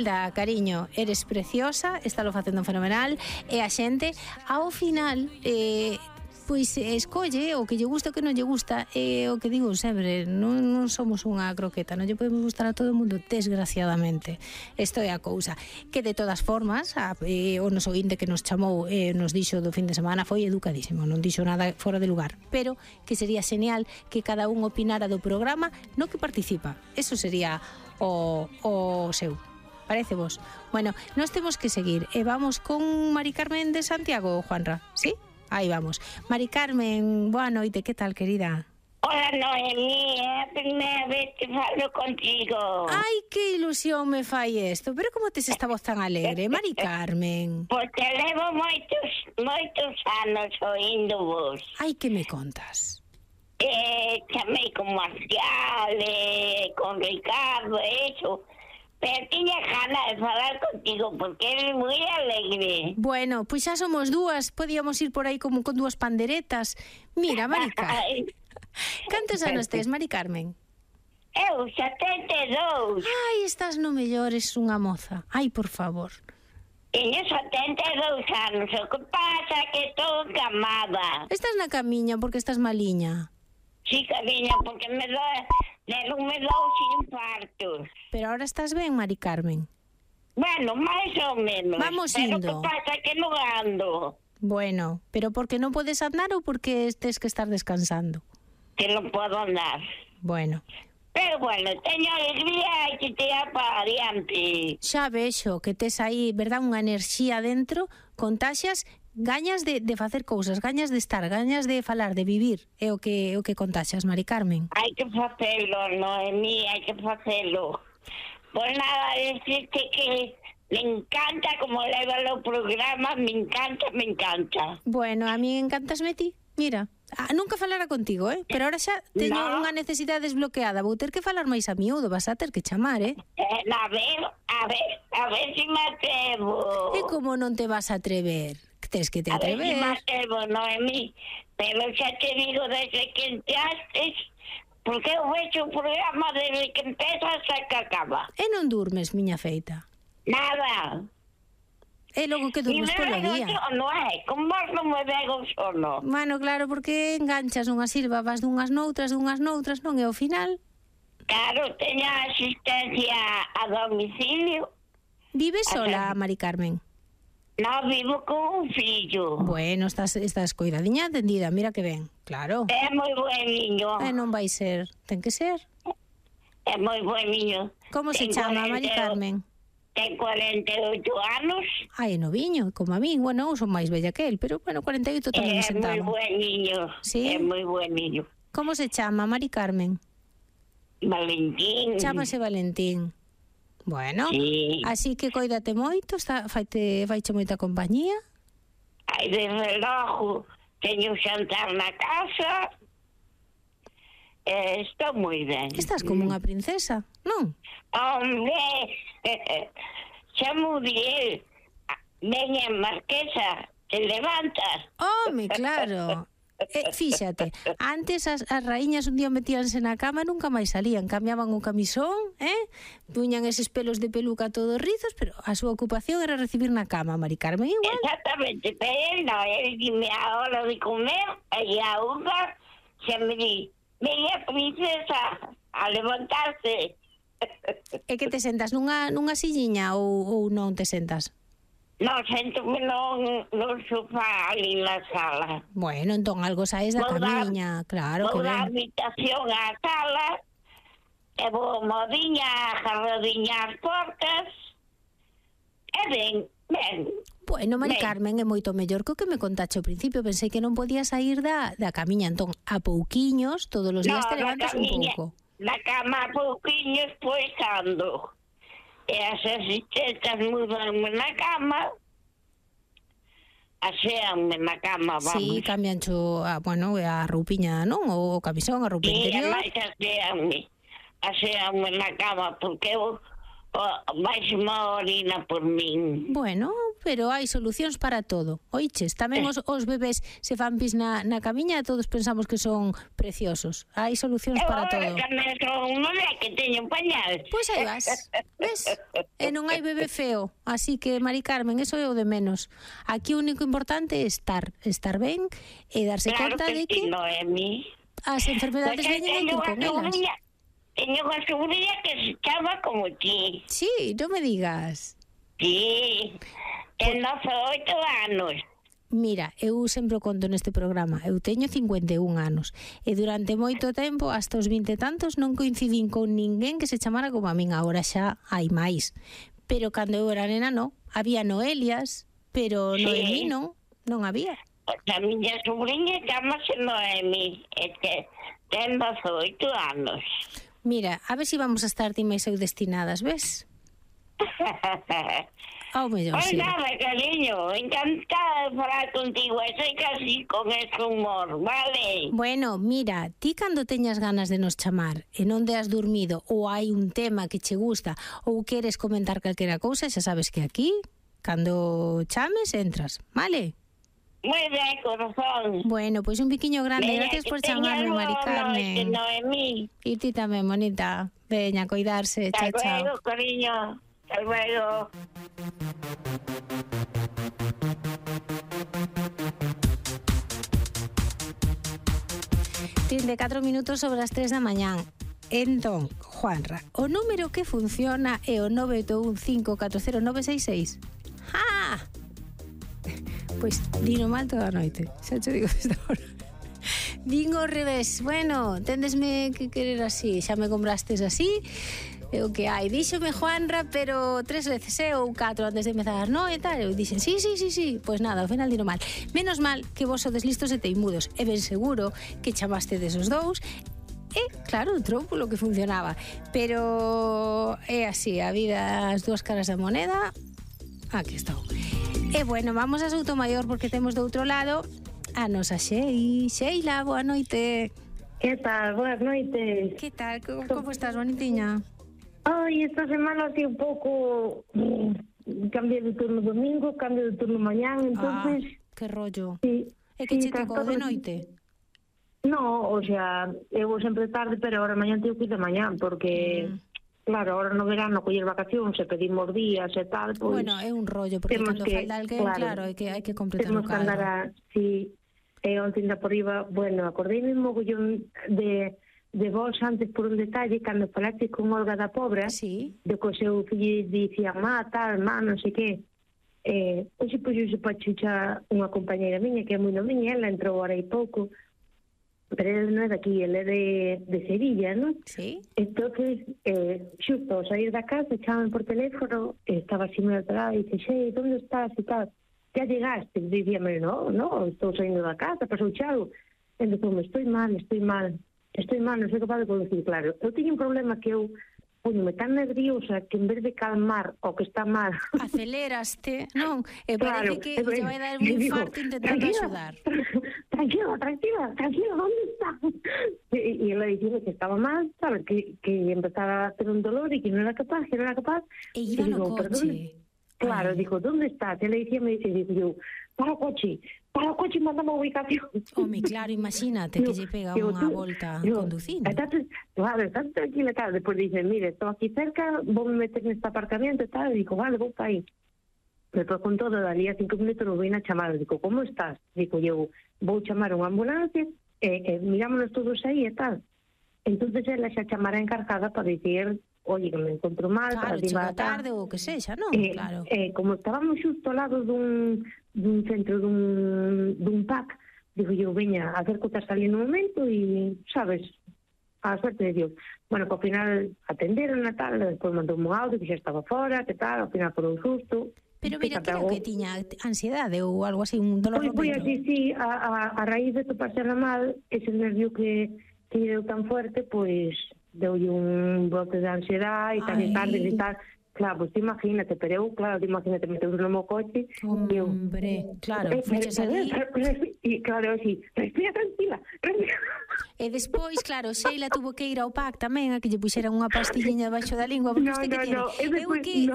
Da, cariño, eres preciosa, estalo facendo fenomenal, e a xente, ao final, pois escolle o que lle gusta o que non lle gusta, e o que digo sempre, non somos unha croqueta, non lle podemos gustar a todo o mundo, desgraciadamente. Isto é a cousa. Que de todas formas, o noso ointe que nos chamou e nos dixo do fin de semana foi educadísimo, non dixo nada fora de lugar, pero que sería genial que cada un opinara do programa no que participa. Eso sería o seu. Parece vos? Bueno, nos temos que seguir e vamos con Mari Carmen de Santiago, Juanra, ¿sí? Aí vamos. Mari Carmen, boa noite, que tal, querida? Hola, Noemí, é a primeira vez que falo contigo. Ai, que ilusión me fai isto, pero como tes esta voz tan alegre, Mari Carmen? Porque levo moitos anos oindo vos. Ai, que me contas? Chamei con Marcial, con Ricardo, eso. Pero tiña ganas de falar contigo porque eres moi alegre. Bueno, pois xa somos dúas, podíamos ir por aí como con dúas panderetas. Mira, Mari Carmen, cantos anos tes, Mari Carmen? Eu, 72. Ai, estás no mellor, es unha moza. Ai, por favor. Teño 72 anos, o que pasa que estou encamada. Estás na camiña porque estás maliña. Sí, cariño, porque me dou infartos. Pero ahora estás ben, Mari Carmen? Bueno, máis ou menos. Vamos pero indo. Pero que pasa que non ando. Bueno, pero porque non podes andar ou porque tes que estar descansando? Que non podo andar. Bueno. Pero bueno, teño alegría e que te para adiante. Xa vexo que tes aí, verdad, unha enerxía dentro, contaxias, gañas de facer cousas, gañas de estar, gañas de falar, de vivir, é o que contaxias, Mari Carmen. Hai que facelo, Noemí, hai que facelo. Pues nada, decirte que me encanta como leva o programa, me encanta. Bueno, a mí encantasme ti, mira. Nunca falara contigo, pero ahora xa teño unha necesidade desbloqueada. Vou ter que falar máis a miúdo, vas a ter que chamar, A ver si me atrevo. E como non te vas a atrever? Tes que te atrever. A ver si me atrevo, Noemí. Pero xa te digo desde que entraste, porque eu vexo o programa desde que empeza hasta que acaba. E non durmes, miña feita? Nada. E logo que durmes polo día. Non é, con vos non me vego sono. Bueno, claro, porque enganchas nunha silva, vas dunhas noutras, non? E ao final... Claro, teño asistencia a domicilio. Vives sola, Mari Carmen? Non, vivo con un fillo. Bueno, estás coidadiña atendida, mira que ben, claro. É moi buen niño. E non vai ser, ten que ser. É moi buen niño. Como se chama, Mari Carmen? Ten 48 anos. Ai, noviño, como a mí. Bueno, eu son máis bella que el, pero, bueno, 48 tamén me sentaba. É moi buen niño. Sí? É moi buen niño. Como se chama, Mari Carmen? Valentín. Chámase Valentín. Bueno, sí. Así que coídate moito, faiche moita compañía. Ai, desde logo, teño xantar na casa. Estou moi ben. Estás como unha princesa, non? Hombre, chamo de veña marquesa, te levantas. Home, claro. Fíxate, antes as raíñas un día metíanse na cama e nunca máis salían, cambiaban o camisón, puñan eses pelos de peluca todos rizos, pero a súa ocupación era recibir na cama, Mari Carmen, igual. Exactamente, pero no, dime a hora de comer, e a unha se me di, veña princesa, a levantarse. E que te sentas nunha silliña ou non te sentas? Non, sento-me no sofá ali na sala. Bueno, entón algo saes da camiña, claro que ben. Vou da habitación á sala, e vou modiña, jarrodiña as portas, e ben. Bueno, Mari Carmen, é moito mellor que o que me contache ao principio. Pensei que non podías sair da camiña, entón a pouquiños, todos os días te levantas un pouco. Na cama a pouquiños, pois ando. E as asistentas mudanme na cama, aseanme na cama, vamos. Sí, cambiancho a roupiña, non? O camisón, a roupa interior. E aseanme na cama, porque eu vais má orina por min. Bueno, pero hai solucións para todo. Oiches, tamén os bebés se fan pis na camiña, todos pensamos que son preciosos. Hai solucións para todo. Tamén son un bebé que teño un pañal. Pois aí vas, ves? E non hai bebé feo, así que, Mari Carmen, eso é o de menos. Aquí o único importante é estar ben e darse conta de que Noemi, as enfermedades veñen con elas. Teño unha sobrinha que se chama como ti. Sí, non me digas. Sí, ten 18 anos. Mira, eu sempre o conto neste programa. Eu teño 51 anos e durante moito tempo, hasta os 20 e tantos, non coincidín con ninguén que se chamara como a min. Agora xa hai máis. Pero cando eu era nena, non. Había Noelias, pero Sí. Noemí non había. A miña sobrinha chamase Noemi, e ten 18 anos. Mira, a ver se vamos a estar ti máis eu destinadas, ves? Ao mellor, Pois sí. nada, cariño, encantada de falar contigo, e soy casi con ese humor, vale? Bueno, mira, ti cando teñas ganas de nos chamar e non te has dormido ou hai un tema que che gusta ou queres comentar calquera cousa, xa sabes que aquí, cando chames, entras, vale? Moi ben, corazón. Bueno, pois un biquiño grande, Veña, gracias que por teñas chamarme, Mari boa Carmen. noite, Noemí. E ti tamén, bonita. Veña, cuidarse, Hasta chao, chao. luego, cariño. Hasta luego. Tin de 4 minutos sobre as 3 da mañán. Entón, Juanra, o número que funciona é o 981540966. ¡Ah! Pois dino mal toda a noite. Xa te digo desde ahora. Din ao revés. Bueno, tendesme que querer así. Xa me comprastes así. É o que hai. Díxome Juanra, pero 3 veces, ou 4 antes de empezar, non? E tal. Eu dixen, sí. Pois nada, ao final dino mal. Menos mal que vos sodes listos e teimudos. E ben seguro que chamaste desos dous. E, claro, entrou polo que funcionaba. Pero é así, a vida, as dúas caras da moneda. Aquí estou. E bueno, vamos a Soutomaior porque temos do outro lado a nosa Sheila, boa noite. Que tal? Boas noites. Que tal? Como estás, bonitiña? Ai, esta semana así un pouco cambié de turno domingo, cambio de turno mañán, entonces... que rollo. Sí, E que che sí, tocou de noite? No, o sea, eu vou sempre tarde, pero ahora mañán tengo que ir de mañán, porque... Claro, ahora no verano coller vacacións e pedimos días e tal, pois... Bueno, é un rollo, porque cando falta alguén, claro, hai que completar o temos que andar cadro. sí, e onte ainda por riba, bueno, acordeime mogollón de vos antes por un detalle, cando falaste con Olga da Pobra, Sí. de que o seu fillo dicía, tal, non sei que, hoxe puxose para chucha unha compañera miña, que é moi noviña, ela entrou ahora hai pouco, pero ele non é daqui, ele é de Sevilla, non? Sí. Entonces, xusto ao sair da casa, chaman por teléfono, estaba así moi alterada, e dice, xe, onde estás e tal? Ya llegaste? E dicíame, no, estou saindo da casa, pasou chalo. E entón, estoy mal, non sei capaz de conducir, claro. Eu teño un problema que eu me tan nerviosa que en vez de calmar o que está mal... Aceleraste, non? E Claro, parece que lle vai dar un infarto intentando axudar. Tranquila, ¿dónde está? Y él le diciendo que estaba mal, ¿sabes? Que empezaba a tener un dolor y que no era capaz. E iba no digo, coche. perdón. Claro, dijo, ¿dónde estás? Él le decía, me dice, yo, para o coche, y mándame a ubicación. Home, claro, imagínate que lle pega unha volta conducindo. Estás tranquila, tal. Después dice, mire, estoy aquí cerca, vou me meter neste aparcamiento e tal. Digo, vale, vou para aí. Despois con todo, dalía 5 minutos nos voy a chamar. Digo, como estás? Digo, eu vou chamar unha ambulancia mirámonos todos aí e tal. Entonces ela xa chamará encargada para dicir, oye, que me encontro mal, Claro, para chega tarde ou que sexa, non? Claro. Como estábamos xusto ao lado dun centro dun PAC, digo eu, veña, acércote a salir no momento e, sabes, a suerte de Dios. Bueno, que ao final atenderon a tal, despois mandou un audio que xa estaba fora, que tal, ao final por un susto. Pero mira, creo que tiña ansiedade ou algo así, un dolor no Pois peito. así, sí, a raíz de toparsela mal, ese nervio que deu tan fuerte, pois deulle un brote de ansiedade e tal, Ai. e tal, Claro, pues imagínate, pero eu, claro, imagínate, meteu no meu coche e eu... Hombre, claro, fuches ali... E claro, así, respira tranquila, respira. E despois, claro, Sheila tuvo que ir ao PAC tamén a que lle puxeran unha pastilliña debaixo da lingua, porque usted que tiene? Eu que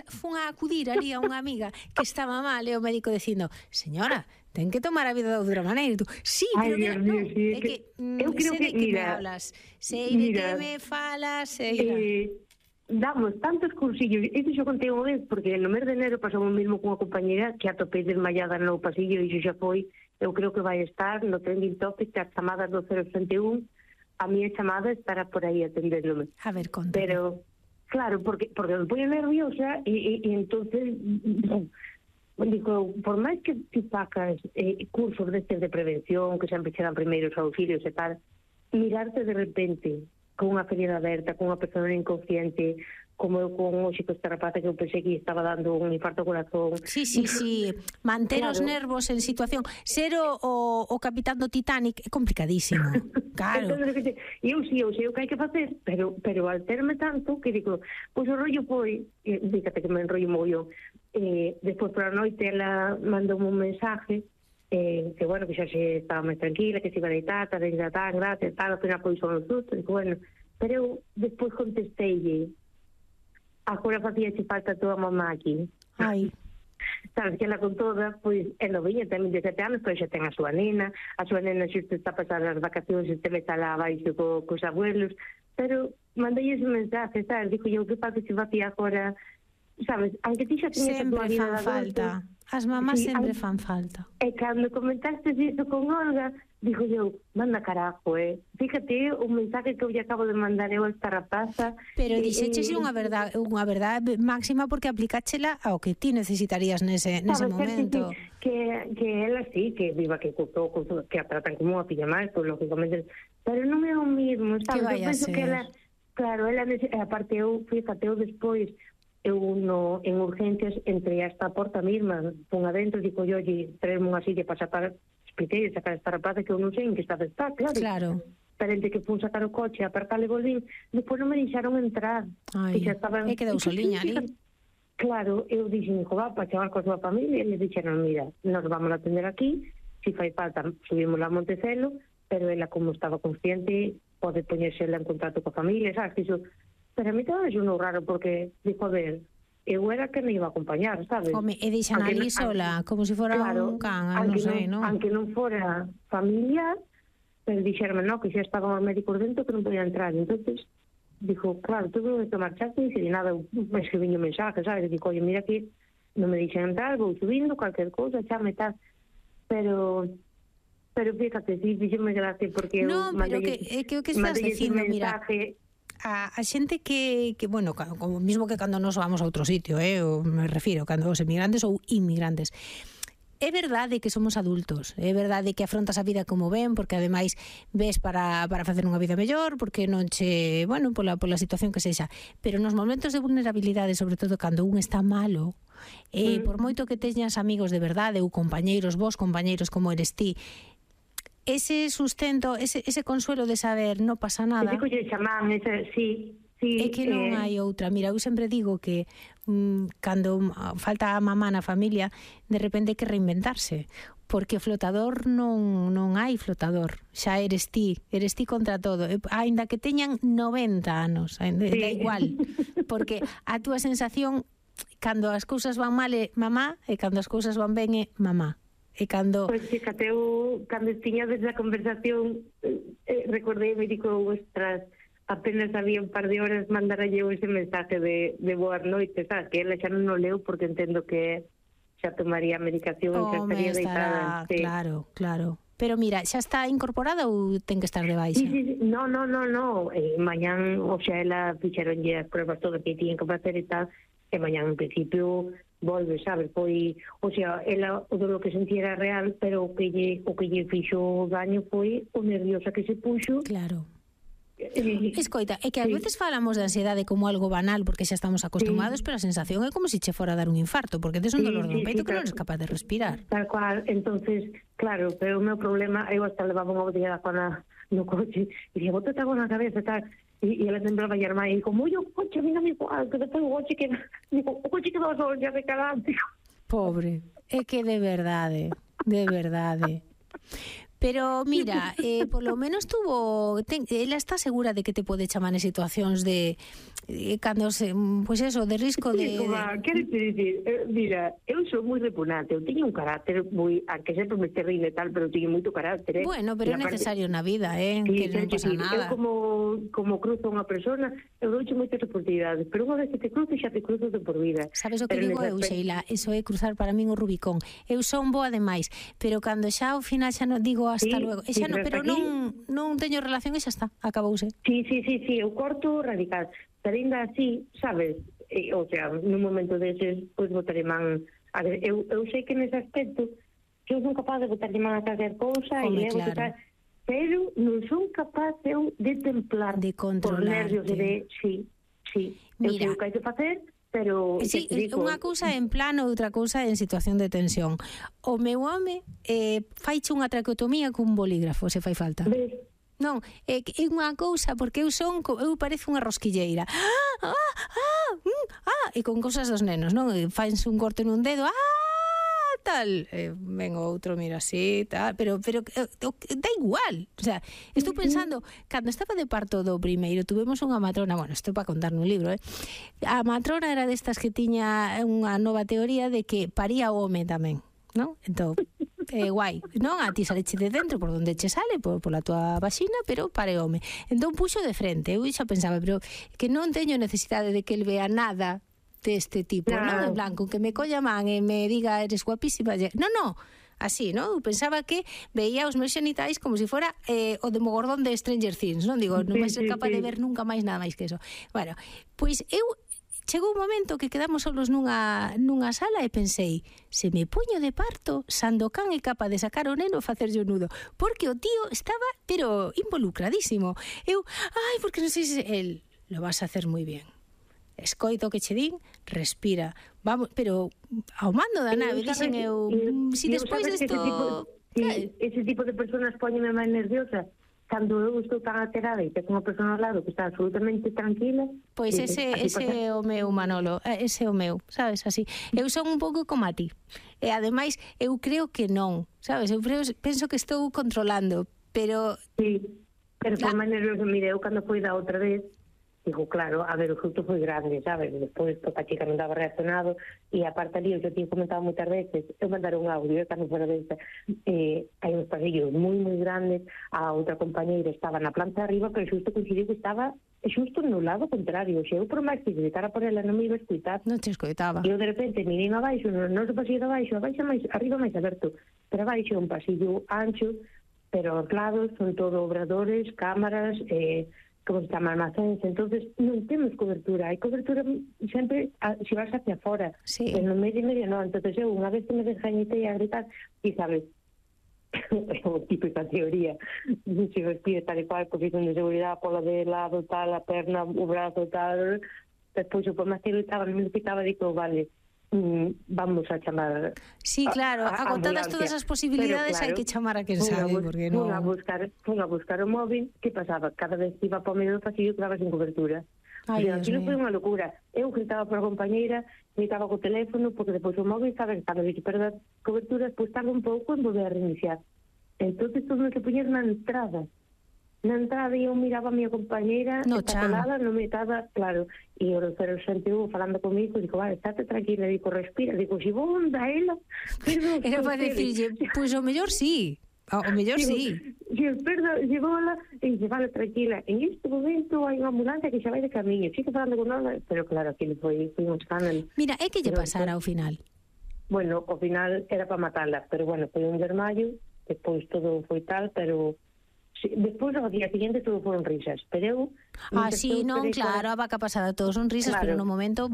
fun a acudir ali a unha amiga que estaba mal e o médico dicindo, señora, ten que tomar a vida de outra maneira. E tú, sí, pero Dios mío, sí, é que eu creo sei de que, que me mira, hablas, sei de que me falas, Sheila. Damos tantos cursillos, isto xo contei unha vez, porque no mes de enero pasou o mesmo cunha compañera que atopei desmayada no pasillo e iso xa foi, eu creo que vai estar no trending topic das chamadas do 061, a miña chamada estará por aí atendéndome. A ver, conta. Pero, claro, porque me pongo nerviosa e entonces, digo, por máis que ti sacas cursos destes de prevención, que sempre che dan primeiros auxilios e tal, mirarte de repente con unha ferida aberta, con unha persona inconsciente, como eu con hoxe que esta rapaza que eu pensei que estaba dando un infarto ao corazón. Sí, manter os nervos en situación. Ser o capitán do Titanic é complicadísimo. Claro. Entonces, eu sei o que hai que facer, pero al terme tanto que digo, pois o rollo foi, fíjate que me enrollo mogollón, despois por a noite ela mandou un mensaje que bueno, que xa se estaba máis tranquila, que se iba a deitar, gracias, tal, ao final foi son os sustos, digo, bueno, pero eu despois contesteille, agora facíache falta a tua mamá aquí. Ai. Sabes que ela con toda, pois, é noviña, ten 17 anos, pero xa ten a súa nena xusto está a pasar as vacacións, este me está lá abaixo cos abuelos, pero mandei ese mensaje, sabes, digo eu, que pasa se facía agora, sabes, aunque ti xa teñes a tua vida fan falta. As mamás sempre fan falta. E cando comentaste iso con Olga, digo eu, manda carajo, fíjate o mensaje que eu lle acabo de mandar eu a esta rapaza. Pero dixeches unha verdade máxima porque aplicáchela ao que ti necesitarías nese momento. Que ela sí, que viva que costou, que a tratan como unha pilla máis, pues, lógicamente, pero non é o mismo, sabes? Que vai a ser? Que ela, claro, ela, aparte eu, fíjate, eu despois, en urgencias entre esta porta mesma, pon adentro, digo yo, traerme unha silla para sacar, expliquei, sacar esta rapaza que eu non sei en que estado está, claro. Pero entre que fun sacar o coche, aparcale e volvín, despois non me deixaron entrar. Ai, e quedou soliña ali. Claro, eu dixen, va, para chamar coa súa familia, e eles dixeron, mira, nos vamos a atender aquí, si fai falta, subimos a Montecelo, pero ela, como estaba consciente, pode poñerse en contacto coa familia, sabes, que iso... Pero a mí tamén é un raro, porque, digo, a ver, eu era que me iba a acompañar, sabes? Home, e deixan ali sola, como se fora un can, non sei, non? Aunque non fora familiar, pero dixerme, no, que xa estaban os médicos dentro que non podía entrar, entonces dijo, claro, tuve que marchaste e de nada, me escribiño mensaje, sabes? Digo, oye, mira que non me deixan entrar, vou subindo, calquer cousa, xa me tal, pero fíjate, sí, díxeme gracia, porque no, pero que o que estás dicindo, mira, a xente que bueno, como mismo que cando nos vamos a outro sitio, me refiro, cando os emigrantes ou inmigrantes, é verdade que somos adultos, é verdade que afrontas a vida como ven, porque ademais ves para facer unha vida mellor, porque non che, bueno, pola situación que sexa, pero nos momentos de vulnerabilidade, sobre todo cando un está malo, por moito que teñas amigos de verdade ou vos compañeiros como eres ti, ese sustento, ese consuelo de saber non pasa nada. Ese colle chamán, sí. É que non hai outra. Mira, eu sempre digo que cando falta a mamá na familia, de repente hai que reinventarse, porque flotador non hai flotador. Xa eres ti contra todo. Aínda que teñan 90 anos, da igual, porque a túa sensación cando as cousas van mal é mamá e cando as cousas van ben é mamá. E cando... Pois fíjate, eu, cando tiña desde a conversación, recordei, me digo, ostras, apenas había un par de horas mandara eu ese mensaje de boas noites, sabes, que ela xa non o leu porque entendo que xa tomaría a medicación e xa estaría deitada. Sí. Claro. Pero mira, xa está incorporada ou ten que estar de baixa? Sí. No. Mañán, o sea, ela fixeronlle as pruebas todo que tiñen que facer e tal, e mañán, en principio... volve, sabes, foi, o sea, ela o do que sentía era real, pero o que lle fixo daño foi o nerviosa que se puxo. Claro. Escoita, é que ás veces falamos de ansiedade como algo banal porque xa estamos acostumados, pero a sensación é como se che fora a dar un infarto, porque tes un dolor no peito que non eres capaz de respirar. Tal cual, entonces, claro, pero o meu problema, eu hasta levaba unha botella de agua no coche e dixo, botate agua na cabeza, tal, E ela sembraba a irmá e como, o coche, mira mi igual, que despois o coche quedou só xa de calante. Pobre, é que de verdade. Pero mira, polo menos ela está segura de que te pode chamar en situacións de cando pois eso, de risco de... Quero te dicir, mira, eu sou moi repugnante, eu teño un carácter moi, aunque sempre me terrible e tal, pero teño moito carácter, Bueno, pero é necesario na vida, sí, que non pasa nada. Eu como cruzo unha persona, eu douche moitas oportunidades, pero unha vez que te cruzo, xa te cruzo de por vida. Sabes o que digo eu, Sheila? Eso é cruzar para min o Rubicón. Eu son boa demais, pero cando xa ao final xa non digo hasta luego, e xa non, pero non teño relación e xa está, acabouse. Sí, eu corto radical, pero ainda así, sabes, o sea, nun momento deses, pois botaré man, eu sei que nese aspecto que eu son capaz de botarle man a calquer cousa e levo claro. que tal, pero non son capaz eu de templar de controlarte. por nervios de, sí, mira, eu sei o que hai que facer, pero sí, unha cousa en plano, outra cousa en situación de tensión. O meu home faiche unha traqueotomía cun bolígrafo, se fai falta. ¿Ves? Non, é unha cousa porque eu parezo unha rosquilleira. E con cousas dos nenos, non? Faense un corte nun dedo, tal, ven outro, mira así, tal, pero da igual. O sea, estou pensando, cando estaba de parto do primeiro, tuvemos unha matrona, bueno, isto para contar nun libro, a matrona era destas que tiña unha nova teoría de que paría o home tamén, non? Entón, guai, non? A ti saleche de dentro por onde che sale, pola tua vaxina, pero pare home. Entón puxo de frente, eu xa pensaba, pero que non teño necesidade de que el vea nada deste tipo, non? En blanco, que me colla man e me diga eres guapísima. Non, así, non? Eu pensaba que veía os meus xenitais como se fora o demogorgón de Stranger Things, non? Digo, non vai ser capaz de ver nunca máis nada máis que eso. Bueno, pois eu chegou un momento que quedamos solos nunha sala e pensei, se me puño de parto, Sandokan é capaz de sacar o neno e facerlle o nudo, porque o tío estaba, pero involucradísimo. Eu, porque non sei se el lo vas a hacer moi bien. Escoito que che din, respira. Vamos, pero ao mando da nave, dixen eu, si despois desto... Ese tipo de personas póñeme máis nerviosa. Cando eu estou tan alterada e tengo unha persona ao lado que está absolutamente tranquila... Pois ese é o meu, Manolo, ese é o meu, sabes, así. Eu son un pouco como a ti. E ademais, eu creo que non, sabes, penso que estou controlando, pero... Sí, pero por máis nervioso, mire, eu cando foi da outra vez, digo, claro, a ver, o fruto foi grande, sabes? Despois, a chica non daba reaccionado, e aparte ali, eu xa tinha comentado moitas veces, eu mandar un audio, cando fora desta, hai uns pasillos moi grandes, a outra compañeira estaba na planta de arriba, pero xusto coincidiu que estaba xusto no lado contrario, xe, eu por máis que gritara por ela non me iba a escutar. Non te escoitaba. E eu de repente mirei abaixo, non se pasillo de abaixo, máis, arriba máis aberto, pero abaixo un pasillo ancho, pero aos lados son todo obradores, cámaras, como se chama, almacéns, entonces non temos cobertura, hai cobertura sempre se vas hacia fora, sí. Pero no medio non, entonces eu unha vez que me desgañitei a gritar, e sabes, o típica teoría, se vestía tal e cual, posición de seguridade, pola de lado, tal, a perna, o brazo, tal, despois eu por máis que gritaba, non me gritaba, digo, vale, vamos a chamar. Sí, claro, agotadas todas as posibilidades, claro, hai que chamar a quen sabe, porque non. Fun a buscar o móvil, que pasaba? Cada vez que iba para o medio do pasillo quedaba sin cobertura. Aquilo foi unha locura. Eu gritaba por a compañeira, gritaba co teléfono, porque depois o móvil, sabes, cando se perda cobertura, pois tarda un pouco en volver a reiniciar. Entonces todo se puñer na entrada. Na entrada eu miraba a miña compañeira, colada, non me estaba, claro, e o xente falando comigo, digo, vale, estate tranquila, digo, respira, digo, si vou onda ela, era para decirlle, pois o mellor sí, o mellor sí. Llególa e dice, vale, tranquila, en este momento hai unha ambulancia que xa vai de camiño, sigue falando con ela, pero claro, aquilo foi un escándalo. Mira, é que lle pasara ao final? Bueno, ao final era para matarla, pero bueno, foi un desmayo, despois todo foi tal, pero... Sí, despois ao día seguinte todo foron risas, pero eu... sí, non, claro, a vaca pasada todos son risas, claro. Pero no momento...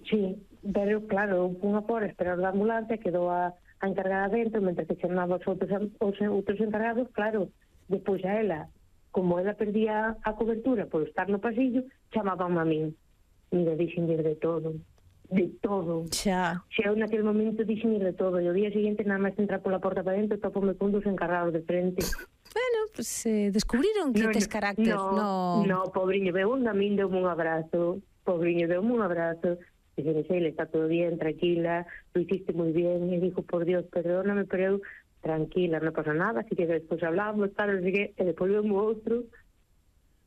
Sí, pero claro, unha por esperar da ambulancia, quedou a encargada dentro, mentre que chamaba os outros encargados, claro, despois a ela, como ela perdía a cobertura por estar no pasillo, chamaban a min. Mira, dixenlle de todo. Xa eu naquele momento dixenlle de todo, e o día seguinte nada máis entrar pola porta para dentro, topome con dos encargados de frente. Bueno, descubriron que tes carácter. No, pobriño, a min deu-me un abrazo. Dice, Sheila, está todo bien, tranquila, lo hiciste muy bien. Y dijo, por Dios, perdóname, pero tranquila, no pasa nada. Así que después hablamos, tal, así que después vemos otro.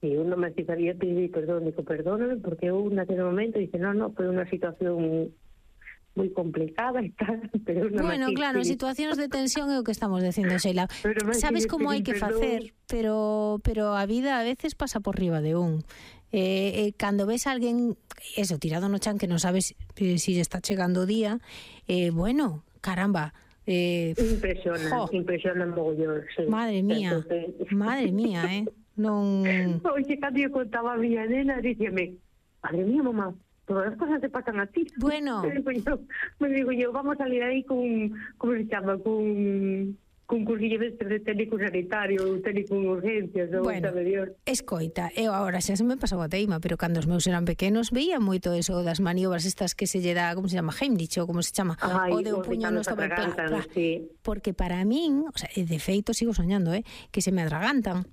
Y uno me sabía pedir perdón, dijo, perdóname, porque uno en aquel momento dice, no, fue una situación muy complicada y tal, pero bueno, claro, situacións de tensión é o que estamos dicindo, Sheila. Sabes como hai que facer, pero a vida a veces pasa por riba de un. Cando ves a alguén eso, tirado no chan, que non sabes si está chegando o día, bueno, caramba, impresiona mogollón, sí. Madre mía, non... Oye, cando eu contaba a miña nena, díxeme, madre mía, mamá, todas as cosas te pasan a ti. Bueno. Me digo yo, vamos a salir aí con, ¿cómo se llama? Con cursillo de técnico sanitario, técnico en urgencias, bueno, escoita, eu agora xa se me pasou a teima, pero cando os meus eran pequenos veía moito eso das maniobras estas que se lle dá, como se chama, Heimlich, ou como se chama, o de un puño no estómago, sí. Porque para min, o sea, de feito sigo soñando, que se me atragantan.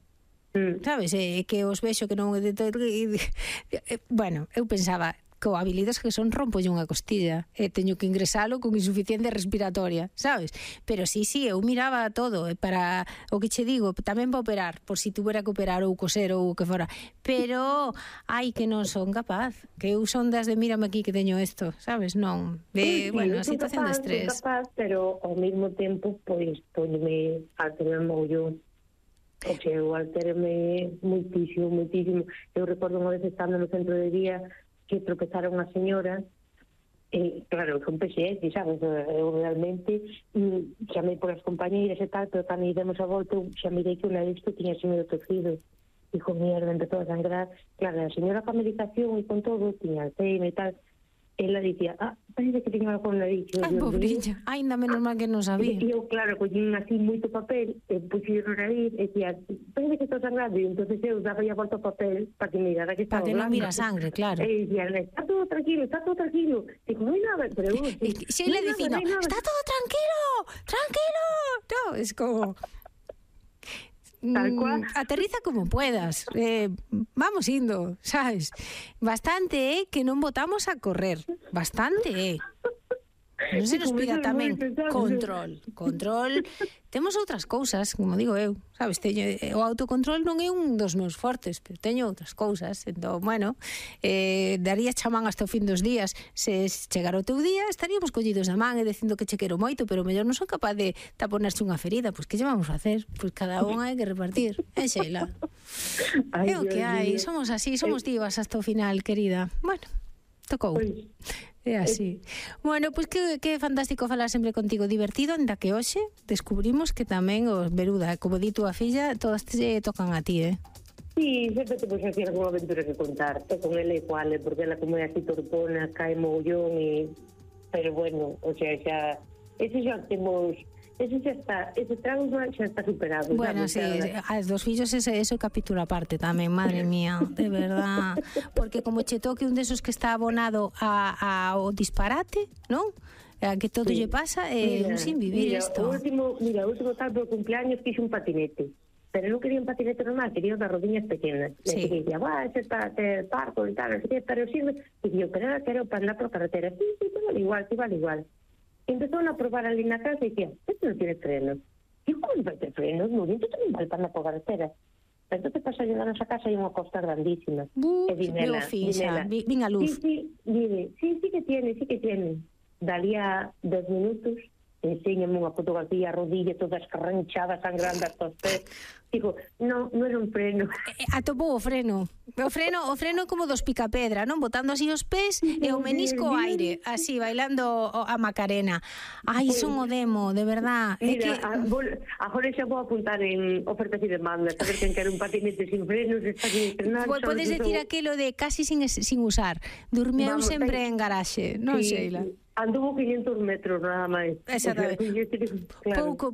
Sabes, que os vexo que non... Bueno, eu pensaba, co habilidades que son, rompo unha costilla, teño que ingresalo con insuficiencia respiratoria, sabes? Pero sí, eu miraba todo, para o que che digo, tamén para operar, por si tuvera que operar ou coser ou o que fora, pero hai que non son capaz, que eu son das de mírame aquí que teño isto, sabes? Non, bueno, a situación de estrés. Capaz, pero ao mesmo tempo, pois, póñeme a tener mogollón. O sea, eu altereme muitísimo. Eu recordo unha vez estando no centro de día que tropezaron unha señora, claro, son PSX, sabes, eu realmente chamei por as compañeiras e tal, pero cando demos a volta, xa mirei que unha disto tiña así medio torcido. Dijo, mierda, empezou a sangrar. Claro, a señora con a medicación e con todo, tiña Alzheimer e tal. Ela dicía, parece que tiña algo na nariz. Ai, pobrilla, ainda menos mal que non sabía. E eu, claro, collín así moito papel, puxi no nariz, e dicía, parece que estou sangrando, e entonces eu daba a volta ao papel para que mirara que estaba blanca. Para que non mira sangre, claro. E dicía, está todo tranquilo. Digo, non hai nada, pero eu... Se le dicindo, está todo tranquilo. No, es como... Tal cual. Aterriza como puedas, vamos indo, sabes? Bastante que non botamos a correr, bastante non se nos pida tamén control. Temos outras cousas, como digo eu, sabes? O autocontrol non é un dos meus fortes, pero teño outras cousas. Entón, bueno, daría chamán hasta o fin dos días. Se chegara o teu día, estaríamos collidos da man e dicindo que che quero moito, pero mellor non son capaz de taponerse unha ferida. Pois que lle vamos a facer? Pois cada unha hai que repartir. Sheila? É o que hai, somos así, somos divas hasta o final, querida. Bueno, tocou. É así. Bueno, pois que fantástico falar sempre contigo, divertido, ainda que hoxe descubrimos que tamén os Veruda, como di túa filla, todas te tocan a ti, Sí, sempre te pois así alguna aventura que contar, con ela igual, porque ela como é así torpona, cae mogollón, pero bueno, o sea, xa ese xa temos... Ese trauma xa está superado. Bueno, sí, as dos fillos eso capítulo aparte tamén, madre mía, de verdad. Porque como che toque un desos que está abonado ao disparate, non? A que todo lle pasa, un sin vivir isto. O último tal do cumpleaños fixe un patinete. Pero non quería un patinete normal, quería das rodillas pequenas. Sí. Le dicía, ese está parco e tal, non sei que, pero sirve. E dixo, pero era quero para andar por carretera. Sí, vale igual. Empezó a probar ali na casa e dicía, esto non tiene frenos. E como non vai ter frenos? Non, isto tamén vale para andar por carretera. Entonces pasa a llegar a esa casa e unha costa grandísima. E dinela, vin a luz. Sí que tiene. Dalía 10 minutos, enséñame unha fotografía, a rodilla toda escarranchada, sangrando hasta os pés. Digo, non era un freno. Atopou o freno. O freno como dos picapedra, non? Botando así os pés e o menisco ao aire, así, bailando a Macarena. Ai, son o demo, de verdad. Mira, agora xa vou apuntar en ofertas e demandas, a ver quen quer un patinete sin frenos, está sin estrenar. Podes decir aquilo de casi sin usar. Durmieu sempre en garaxe, non, Sheila? Anduvo 500 metros nada máis. Exactamente.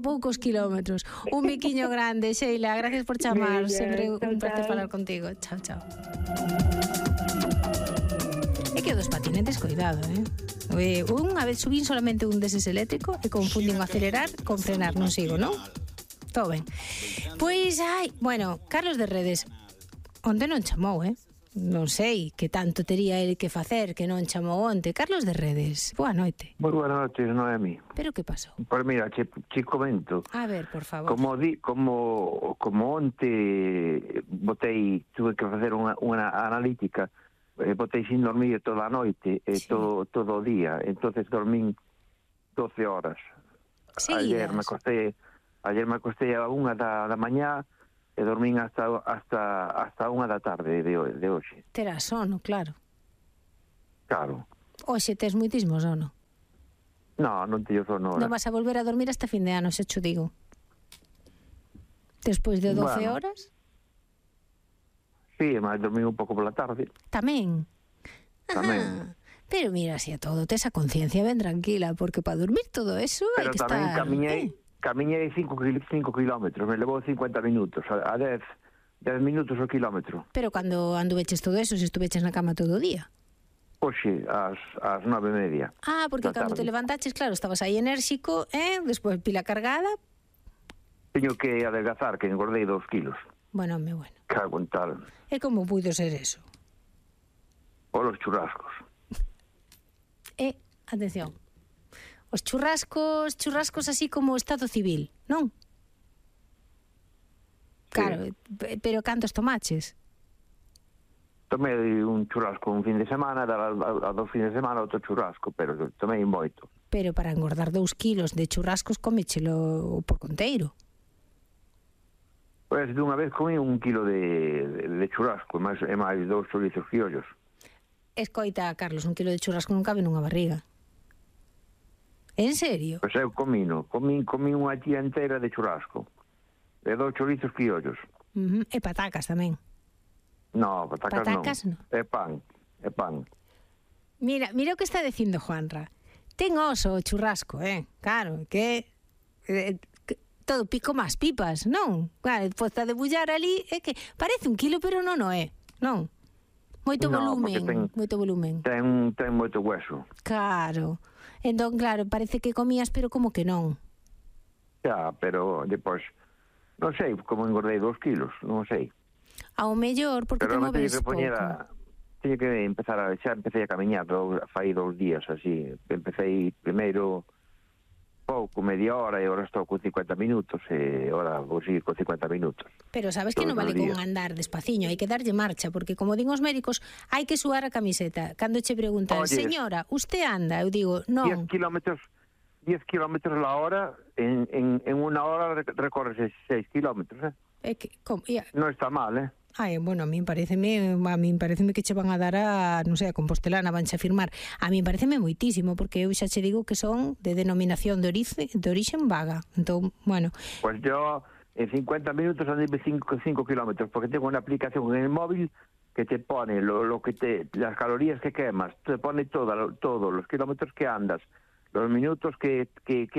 Poucos kilómetros. Un biquiño grande, Sheila. Gracias por chamar. Sempre un placer falar contigo. Chao. É que dos patinetes, cuidado, unha vez subín solamente un deses eléctrico e confundín acelerar con frenar, non sigo, non? todo ben. Pois, bueno, Carlos de Redes, onte non chamou, Non sei que tanto tería ele que facer que non chamou onte. Carlos de Redes, boa noite. Moi boa noite, Noemi. Pero que pasou? Pois mira, che comento. A ver, por favor. Como onte tuve que facer unha analítica, botei sin dormir toda a noite, sí. todo o día, entonces dormín 12 horas. Ayer me acostei a 1 da mañá, e dormín hasta 1 da tarde de hoxe. Terás sono, claro. Claro. Hoxe tes moitísimo sono. Non teño sono ahora. Non vas a volver a dormir hasta fin de ano, se cho digo. Despois de 12 horas? Sí, mas dormí un pouco pola tarde. Tamén? Tamén. Pero mira, así a todo, tes a conciencia ben tranquila, porque para dormir todo eso hai que estar... Pero tamén camiñei 5 kilómetros, me levou 50 minutos, a 10 minutos o kilómetro. Pero cando anduveches todo eso, se estuveches na cama todo o día? Hoxe, ás 9:30. Porque cando te levantaches, claro, estabas aí enérxico, despois pila cargada. Teño que adelgazar, que engordei 2 kilos. Bueno. Cago en tal. E como puido ser eso? Por los churrascos. Atención, os churrascos así como estado civil, non? Sí. Claro, pero cantos tomaches? Tomei un churrasco un fin de semana, a 2 fines de semana outro churrasco, pero tomei moito. Pero para engordar 2 kilos de churrascos comechelo por conteiro. Pois dunha vez comí 1 kilo de churrasco, e máis 2 chorizos criollos. Escoita, Carlos, 1 kilo de churrasco non cabe nunha barriga. En serio? Pois eu comí unha tía inteira de churrasco, de 2 chorizos criollos. E patacas tamén. No, patacas non. É pan. Mira o que está dicindo Juanra. Ten oso o churrasco, claro, que todo pico máis pipas, non? Claro, posta de bullar ali, é que parece 1 kilo, pero non o é, non? Moito volumen. Ten moito hueso. Claro. Entón, claro, parece que comías, pero como que non. Xa, pero depois, non sei como engordei 2 kilos, non sei. Ao mellor, porque te moves pouco. Teño que empezar xa empecé a camiñar fai 2 días, así. Empecé primeiro pouco, media hora, e agora estou con 50 minutos, e agora vou seguir con 50 minutos. Pero sabes que non vale con andar despaciño, hai que darlle marcha, porque como din os médicos, hai que suar a camiseta. Cando che preguntan, señora, usted anda? Eu digo, non. 10 kilómetros la hora, en 1 hora recorres 6 kilómetros, Non está mal, Bueno, a mí pareceme que che van a dar a, non sei, a Compostelana, vanche a firmar. A mí pareceme moitísimo, porque eu xa che digo que son de denominación de orixen vaga. Entón, bueno. Pues yo en 50 minutos andei 5 kilómetros, porque tengo una aplicación en el móvil que te pone las calorías que quemas, te pone todos los kilómetros que andas, los minutos que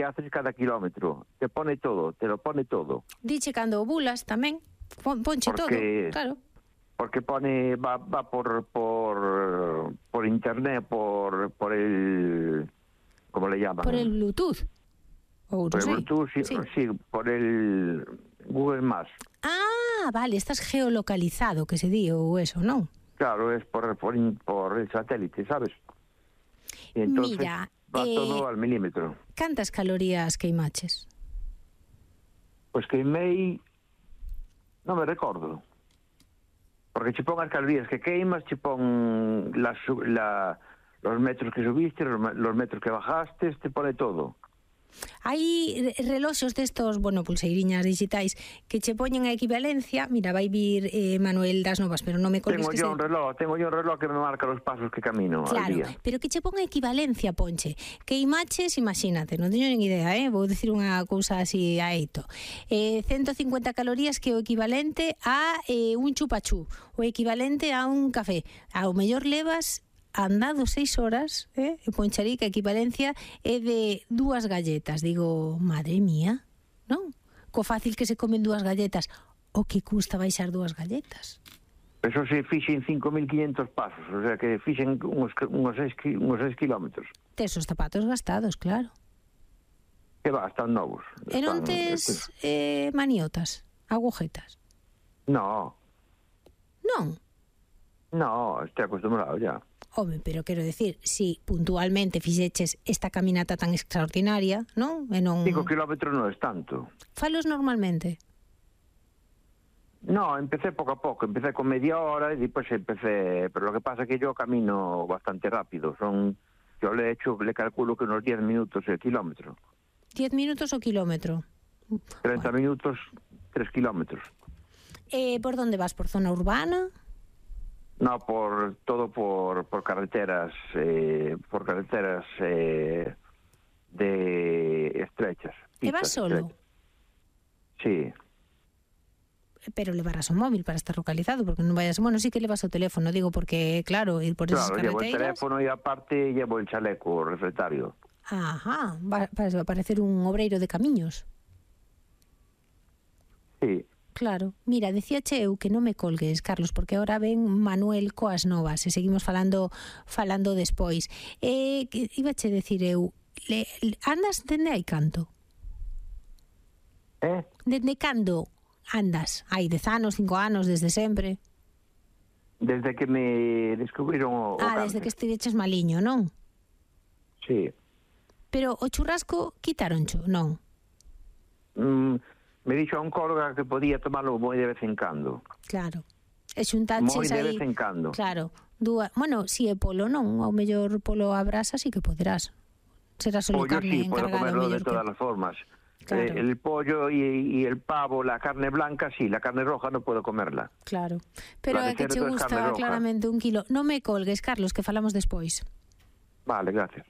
haces cada kilómetro, te lo pone todo. Diche cando ovulas tamén. Ponche todo, claro. Porque va por internet, por el, ¿cómo le llaman? Por el Bluetooth. Por el Bluetooth, sí, por el Google Maps. Vale, estás geolocalizado, que se di, ou eso, non? Claro, es por el satélite, ¿sabes? Y entonces va todo al milímetro. Cantas calorías queimaches? Pues queimei... Non me recordo. Porque che pon as calorías que queimas, che pon los metros que subiste, los metros que bajaste, te pone todo. Hai reloxos destos, pulseiriñas digitais que che poñen a equivalencia. Mira, vai vir Manuel das Novas, pero non me colgues que Tengo yo un reloj que me marca os pasos que camino al día. Claro, pero que che pon a equivalencia, ponche. Que imaches, imagínate, non teño nin idea, vou dicir unha cousa así a eito. 150 calorías que é o equivalente a un chupachú, o equivalente a un café. Ao mellor levas andado 6 horas, e poncharí que a equivalencia é de 2 galletas. Digo, madre mía, non? Co fácil que se comen 2 galletas, o que custa baixar 2 galletas? Eso se fixen 5.500 pasos, o sea que fixen uns 6 kilómetros. Tes os zapatos gastados, claro. Que va, están novos. E non tes maniotas, agujetas? No, Non? estoy acostumbrado ya. Home, pero quero decir, si puntualmente fixeches esta caminata tan extraordinaria, non? E non... 5 kilómetros non es tanto. Falos normalmente? No, empecé poco a poco, empecé con media hora y después empecé, pero lo que pasa es que yo camino bastante rápido, yo le calculo que unos 10 minutos el kilómetro. 10 minutos o kilómetro? 30 minutos, 3 kilómetros. Por dónde vas? Por zona urbana? No, por carreteras, de estrechas. E vas solo? Estrechas. Sí. Pero levarás o móvil para estar localizado, porque non vayas... Bueno, sí que levas o teléfono, digo, porque, claro, ir por esas Claro, llevo carreteras... el teléfono y aparte llevo el chaleco reflectario. Ajá, va a parecer un obreiro de camiños. Sí. Claro. Mira, decíache eu que non me colgues, Carlos, porque ahora ven Manuel coas novas e seguimos falando despois. Ibache decir eu, andas dende hai canto? Dende cando andas? Hai 10 anos, 5 anos, desde sempre? Desde que me descubriron o cáncer. Desde que estiveches maliño, non? Sí. Pero o churrasco quitaroncho, non? Me dixo a un colega que podía tomarlo moi de vez en cando. Claro. E xuntaches Moi de aí... vez en cando. Claro. Bueno, si é polo non, ao mellor polo a brasa sí que poderás. Será solo Pollo carne sí, puedo encargada. comerlo de todas las formas. Claro. El pollo y el pavo, la carne blanca sí, la carne roja no puedo comerla. Claro. Pero La de é que che cerdo es gusta carne roja. claramente 1 kilo. Non me colgues, Carlos, que falamos despois. Vale, gracias.